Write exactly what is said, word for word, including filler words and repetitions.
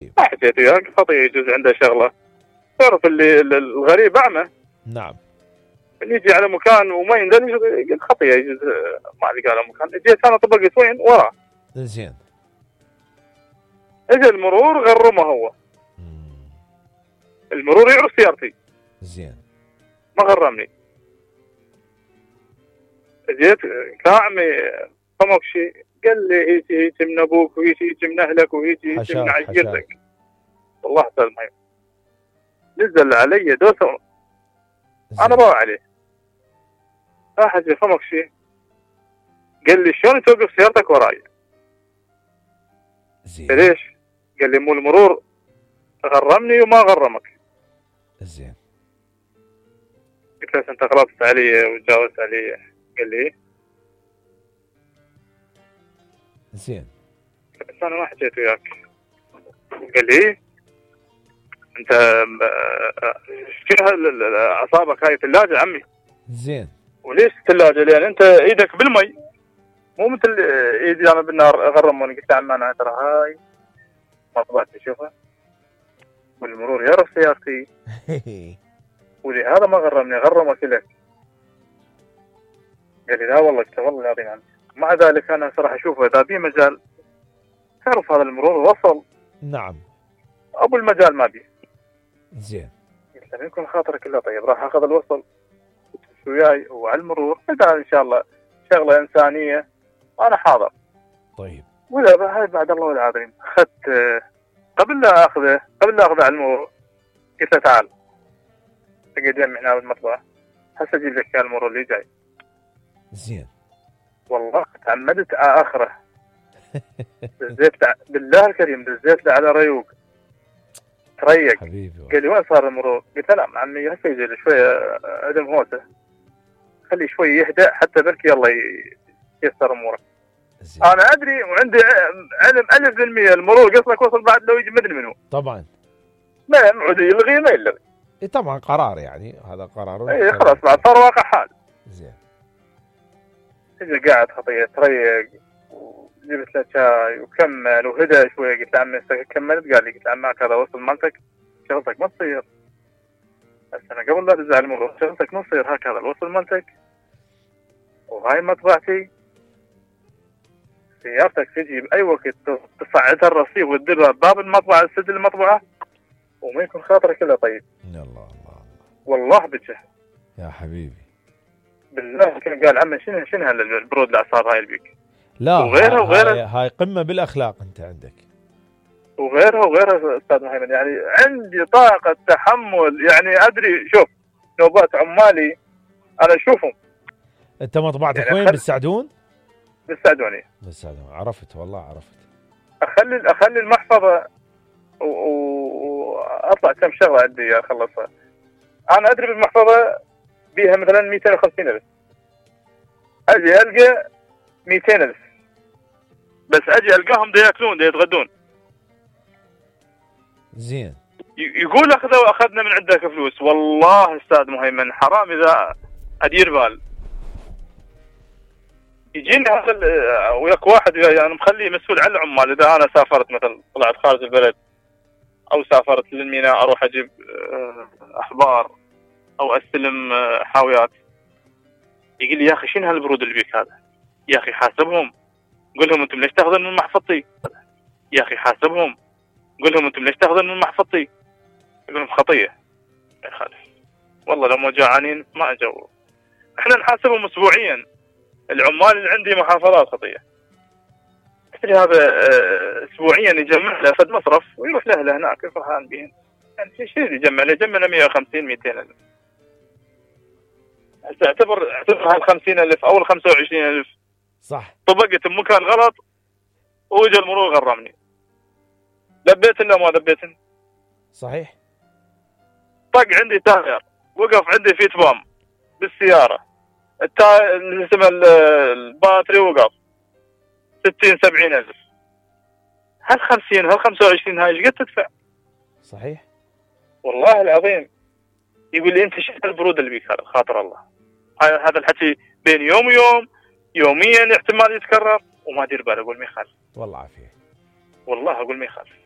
ما حكيت وياك خطيه يجوز عنده شغله. تعرف اللي الغريب اعمى. نعم. اللي يجي على مكان وما يندل قلت خطيه يجوز ما لقى على مكان. جيت انا طبقت وين وراه. زين. اجى المرور غرمه هو. مم. المرور يعرف سيارتي. زين. ما غرمني. جيت كاعمي فمك شيء قال لي هيجي هيجي من ابوك وهيجي هيجي من اهلك وهيجي هيجي من عشيرتك. والله استاذ مهيب نزل علي دوسه انا ضاع عليه. راح اجي فمك شيء قال لي شلون توقف سيارتك وراي؟ زين. ليش؟ قال لي مو المرور غرمني وما غرمك. زين. قلت له انت غلطت علي وتجاوزت علي. قال لي زين. بس انا ما حكيت وياك. قال لي انت شنو اعصابك هاي ثلاجه عمي. زين. وليش الثلاجه؟ لان انت ايدك بالمي مو مثل ايدي انا بالنار غرموني. قلت له عمي انا ترى هاي مطبعتي شوفها والمرور يعرف سيارتي ولهذا ما غرمني غرمك لك. قال لي لا والله قلت والله العظيم عنك. مع ذلك انا صراحه اشوفه اذا في مجال تعرف هذا المرور وصل. نعم. ابو المجال ما بيه. زين. قلت له يكون خاطرك الا طيب راح اخذ الوصل وياي وعلى المرور اذا ان شاء الله شغله انسانيه انا حاضر. طيب. ولا هاي بعد الله العظيم اخذت قبل لا اخذه قبل لا اخذه على المرور قلت له تعال تقعد يمي هنا بالمطبخ هسه اجيب لك اياه المرور اللي جاي. زين. والله تعمدت على اخره. دزيت بالله الكريم دزيت له على ريوق تريق. حبيبي. قال لي وين صار المرور؟ قلت له لا عمي هسه يجي له شويه عدم هوسه خليه شوي يهدأ حتى بركي الله ييسر اموره. انا ادري وعندي علم ألف بالمية المرور قصدك وصل بعد لو يجي مدري منه. طبعا. ما يمعد يلغي ما يلغي. اي طبعا قرار يعني هذا قرار. اي خلاص بعد صار واقع حال. زين. اجى قاعد خطيه تريق وجبت له شاي وكمل وهدى شوي. قلت له عمي كملت؟ قال لي قلت له عمك هذا وصل مالتك شغلتك ما تصير. بس انا قبل لا ادز على المرور شغلتك ما تصير هكذا الوصل مالتك وهاي مطبعتي سيارتك تجي باي وقت تصعدها الرصيف وتديرها باب المطبعه تسد المطبعه وما يكون خاطرك الا طيب. يا الله الله والله بجه يا حبيبي بالله. كان قال عمي شنو شنو هالبرود الاعصاب هاي البيك. لا وغيرها وغيرها هاي, هاي قمه بالاخلاق انت عندك. وغيرها وغيرها استاذ محمد يعني عندي طاقه تحمل يعني ادري. شوف نوبات عمالي انا اشوفهم. انت مطبعتك يعني وين؟ بالسعدون؟ بالسعدوني. بالسعدون. عرفت والله عرفت. اخلي اخلي المحفظه واطلع كم شغله عندي اخلصها. انا ادري بالمحفظه بيها مثلا مئتين وخمسين ألف اجي القى مئتين ألف بس اجي القاهم دا ياكلون دا يتغدون. زين. يقول اخذوا اخذنا من عندك فلوس. والله استاذ مهيمن حرام اذا ادير بال. يجيني هذا وياك واحد انا يعني مخليه مسؤول عن العمال. اذا انا سافرت مثلا طلعت خارج البلد او سافرت للميناء اروح اجيب احبار او استلم حاويات يقول لي يا اخي شنو هالبرود اللي بيك هذا؟ يا اخي حاسبهم قول لهم انتم ليش تاخذون من محفظتي؟ يا اخي حاسبهم قول لهم انتم ليش تاخذون من محفظتي؟ يقول لهم خطيه ما يخالف والله لو ما جاعانين ما اجوا. احنا نحاسبهم اسبوعيا. العمال اللي عندي محافظات خطيه تدري هذا اسبوعيا يجمع له فد مصرف ويروح له هناك يفرحان بهم. يعني شيء يجمع له يجمع له مئة وخمسين مئتين ألف. هسه اعتبر اعتبر هال خمسين ألف او ال خمسة وعشرين ألف صح طبقت بمكان غلط واجا المرور غرمني. لبيت ولا ما لبيت؟ صحيح. طق عندي تاير وقف عندي فيت بام بالسياره التا اللي اسمه الباتري وقف ستين سبعين ألف. هال خمسين هال خمسة وعشرين هاي ايش قد تدفع؟ صحيح والله العظيم. يقول لي انت شو البرود اللي بيك هذا خاطر الله. هذا الحكي بين يوم ويوم يوميا احتمال يتكرر وما ادير باله. اقول ما يخالف والله عافيه. والله اقول ما يخالف.